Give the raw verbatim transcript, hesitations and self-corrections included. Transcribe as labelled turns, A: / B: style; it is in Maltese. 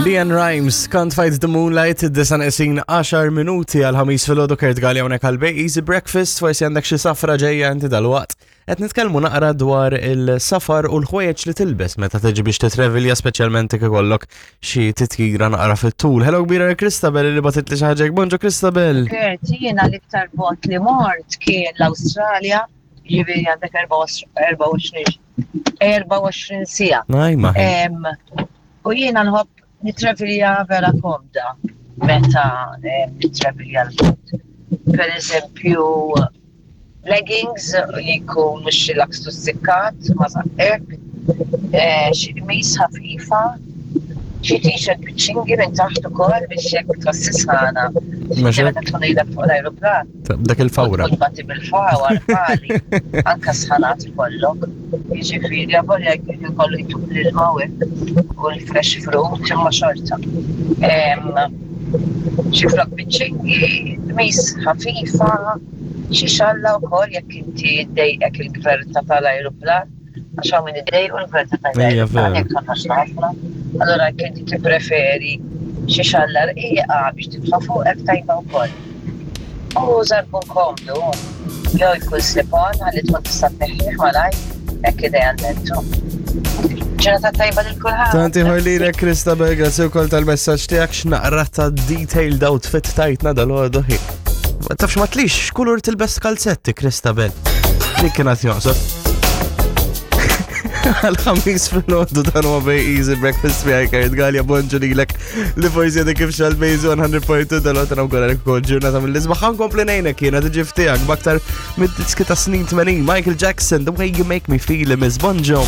A: LeAnn Rimes, Can't Fight the Moonlight, id-disgħa neqsin għaxar minuti għall-ħames filgħodu. Kurt Galea hawnhekk għal Bay Easy Breakfast, forsi għandek xi safra ġejja inti dalwaqt. Qed nitkellmu naqra dwar il-safar u l-ħwejjeġ li tilbes meta tiġi biex titrevilja, speċjalment jekk ikollok xi titjira naqra fit-tul. Hello kbira Christabel li bagħtet li xi ħaġa. Bonġu, Christabel.
B: Kurt, jiena l-iktar bogħod li mort kien l-Awstralja, ġifieri għandek erbgħa u għoxrin erbgħa u għoxrin siegħa.
A: Najma.
B: Em, U jiena nħobb nitrevilja vera komda meta em, nitrevilja l-bogħod. Per eżempju, leggings li jkun mhux lakstu sikkat ma żaqqek, eh, xi qmis ħafifa, xi t-shirt biċ-ċingi minn taħt ukoll biex jekk tħossi sħana.
A: Mhux hekk?
B: Meta tkun ilek fuq l-ajruplan.
A: Dak il-fawra.
B: Tkun bati bil-fawar, pali, anka sħanat ikollok. Jiġifieri, avolja jkun kollu jtuk l-ilma u hekk, u l-fresh fruit, imma xorta. Em, Xi flok biċ-ċingi, qmis ħafifa, xi xalla wkoll jekk inti ddejqek il-gverta tal-ajruplan, għax hawn min iddejqu l-gverta
A: Ejja,
B: tal-ajruplan
A: vera.
B: jekk tħossx ħafna. Allura jekk inti tippreferi xi xalla rqiqa biex titfa' fuqek, tajba wkoll. U żarbun komdu, jew jkun slip-on ħalli tkun tista' tneħħih malajr, hekk idealment. Ġurnata tajba lil kulħadd.
A: Tant ieħor lilek, Christabel, grazzi wkoll tal-messaġġ tiegħek, x'naqra ta' detailed outfit tajtna dalgħodu. Ma tafx ma tlix x'kulur tilbes kalzetti, Christabel. Dik kienet joqsod. Għal-ħamis filgħodu, dan huwa Bay Easy Breakfast miegħi Kurt Galea. Bonġu lilek li forsi għadek kif xgħalt Bay Easy mija punt tnejn dalgħodu, nawguralek ukoll ġurnata mill-isbaħ. Ħa nkompli ngħinek jiena tiġi ftijak b'aktar mid-diski ta' snin tmenin. Michael Jackson, The Way You Make Me Feel, Miss Bonġo.